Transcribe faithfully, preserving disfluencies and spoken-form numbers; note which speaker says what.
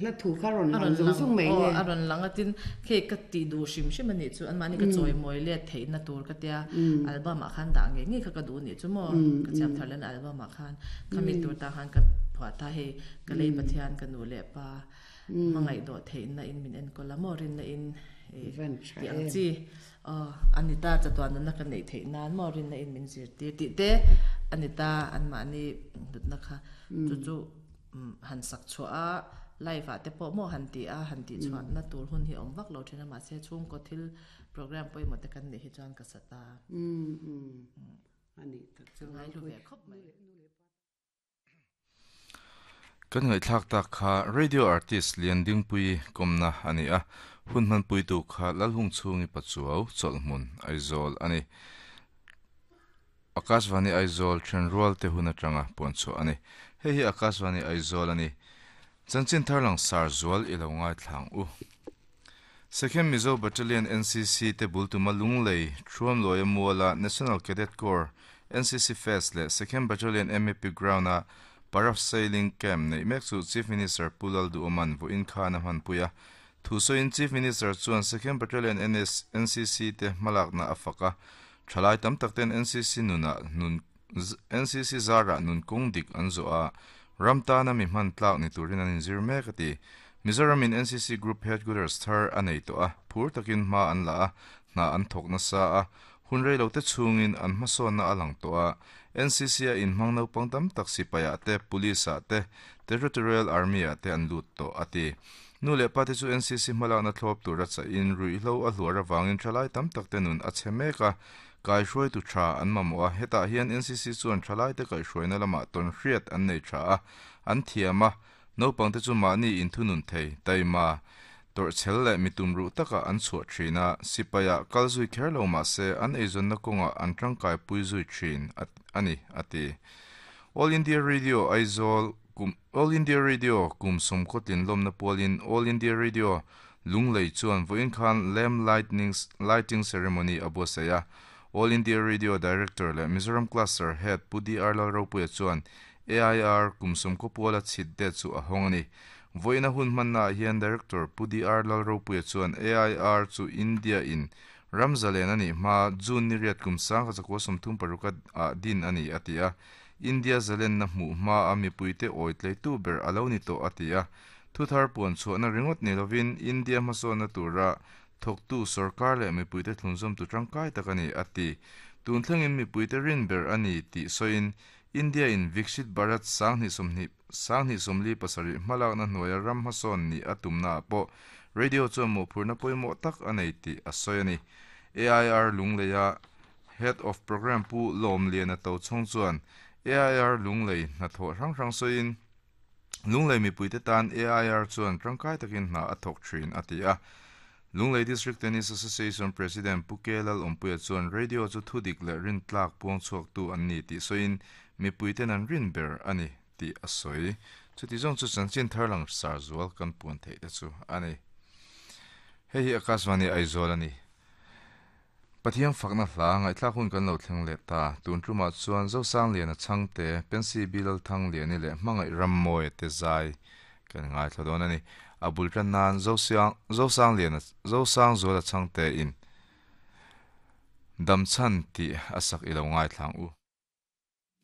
Speaker 1: La thu kha ron lang zung zung mai
Speaker 2: le a ron lang atin khe ka ti du shim shim ani chu an mani ka choi moi le thei na tur ka tia album a khan da nge nge kha ka du ni chu mo ka cham tharlan album a khan khami tur ta khan ka phwa ta he ka lei pathian ka nu le pa mangai do thei na in min en ko la mo rin na in ti ang chi anita chatuan na ka nei thei nan mo rin na in min zir ti ti te anita an ma ni dut na kha chu chu han sak chu a live a te po mo han ti a han ti chuan na tur hun hi om vak lo thina ma se chung ko thil program poi mo te kan ni hi chuan ka sata
Speaker 1: um um ani tak chu
Speaker 2: ngai lu ve khop mai
Speaker 3: kan ngai thlak tak kha radio artist lian ding pui komna ani a hun man pui tu kha lalhung chungi pachuau cholhmun Aizawl ani Akashvani Aizawl thenrual te hun atanga poncho ani hei hi Akashvani Aizawl ani chanchin tharlang sar zual ilo ngai thlang u Second Mizo Battalion N C C te bultuma lunglei thuam loya muala National Cadet Corps N C C Fest le Second Battalion M A P Ground a parasailing camp nei mek chu Chief Minister Pulal du Oman vo in khana han puya thuso in Chief Minister chuan Second Battalion N S N C C te malak na afaka thalai tam takten N C C nuna nun N C C zara nun kung dik anzo a ramta na mi man tlak ni turin an zir mek ati Mizoram in N C C Group Headquarters thar anei to a phur takin ma an la a na an thok na sa a hunrei lo te chungin an hmasawn na alang to a N C C a in hmang naupang tam tak sipai te police a te Territorial Army a te an lut to ati nu le pa te chu N C C hmalak na thlawp tur a cha in rui hlo a hluar awangin thalai tam tak te nun a che mek a kai hruai tu tha an mamawh a hetah hian N C C chuan thalai te kai hruaina lamah tawn hriat an nei tha a an thiam a naupang te chu mahni in thunun thei taima tor chel le mitum ru taka an chhuah thin a sipaia kal zui kher lo ma se an eizawn na kawnga an tangkai pui zui thin ani ati All India Radio Aizawl kum All India Radio kum sum khotlin lomna polin All India Radio lunglei chuan voin khan lamp lightning lighting ceremony abosaya All India Radio Director le Mizoram Cluster Head Pudi Arlal Ropuia chuan A I R kum sum khopuala chhit de chu a hawng ani voina hun manna hian Director Pudi R Lalropuia chuan A I R chu India in Ramzalen ani ma June ni riat kum sang kha chakwa sawmthum paruk a din ani atia India zalen na hmu ma a mipuite oitlei tu ber alo ni to atia thuthar puan chuana ringot ni lovin India hmasawn na tura thawktu sarkar leh mipuite thlunzawm tu tangkai tak ani ati tun thlengin mipuite rin ber ani tih sawiin India in Viksit Bharat sang ni somni sang ni somli pasari hmalak na hnuaia ram hmasawn ni atumna pawh radio chuan mawhphurna pawimawh tak a nei tih a sawi ani A I R lungleia Head of Program pu Lawm Lian a to chhawng chuan A I R lunglei hnathawh hrang hrang sawiin lunglei mipuite tan A I R chuan tangkai takin hna a thawk thin a ti a Lunglei District Tennis Association President Pukelal Ompuia chuan radio chu thudik leh rin tlak puang chhuak tu an ni tih sawiin mipuiten an rin ber ani tih a sawi chuti zawng chu chanchin tharlang sar zual kan puan theih te chu ani hei hi Akashvani Aizawl ani Pathian fakna hla ngaihthlak hun kan lo thleng leh ta tun tumah chuan Zosang lian a changte Pensi Bilal Thang liani leh hmangaih rammawi te zai kan ngai thla dawn ani abul tan nan Zosiang Zosang lian Zosang zual a changte in damchan ti asak ilo ngai thlang u.